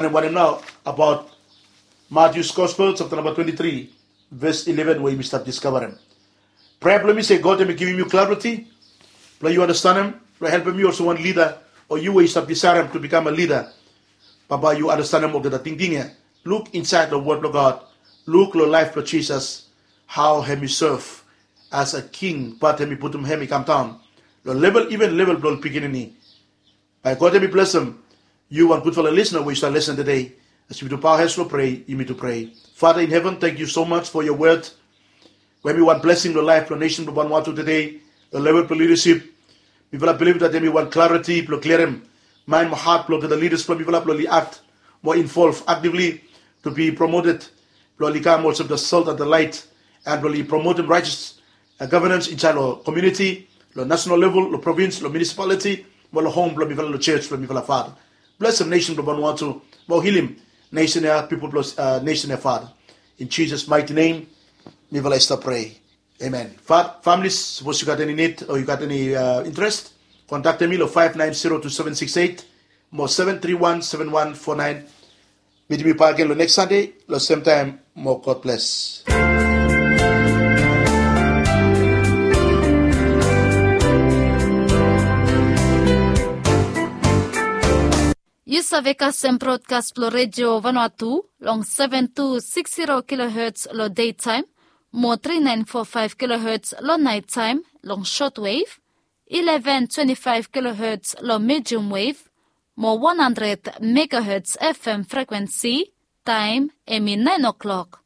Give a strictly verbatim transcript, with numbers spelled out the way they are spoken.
Wanem nao abaot Matius Gospel sapta namba twenti tri, ves ileven we yumi stap diskavarem. Prea blong mi se God hemi givim yu klariti blong yu andastanem, blong helpem yu olsem wan lida, o yu we yu stap disaedem tu bikam a lida. Bambae yu andastanem olgeta tingting ya. Luk insaed long wod blong God. Luk long laef blong Jisas, hao hem i sev as a king, bat hem i putum hem i kamdaon long level, iven level blong ol pikinini. Bae God hem i blesem yu wan gudfala lisna we yu stap lesen tede. As yumi tu paoa hes long prea, yumi tu prea. Father in heaven, thank you so much for your word. We hem i wan blesing long laef blong nesen blong Vanuatu tede, long level blong lidasip. Mifala bilif dat hem i wan klariti blong klirim maen mo hat blong olgeta lidas blong mifala blong oli akt moa involv aktivli, to be promoted, blong oli kam olsem the salt and the light, and blong oli promotem righteous uh, governance insaed long komuniti, long national level, long provins, long municipality, mo long hom blong mifala, long church blong mifala, Father. Blesem nesen blong Vanuatu, mo hilim nesen ya, pipol blong uh, nesen ya, Father. In Jesus' mighty name, mifala i stap prea. Amen. Fa- families, sapos yu gat eni nid o yu gat eni uh, interest, kontaktem mi long five nine zero two seven six eight mo seven three one seven one four nine. Mitim yu bakegen long neks Sande long semtaem. Mo God bless. Yu save kasem brodkas blong Redio Vanuatu long seven two six zero kilohertz long daytime, mo three nine four five kilohertz long nighttime long shortwave, eleven twenty-five kilohertz long medium wave, mo one hundred megahertz F M frequency, taem hemi nine o'clock.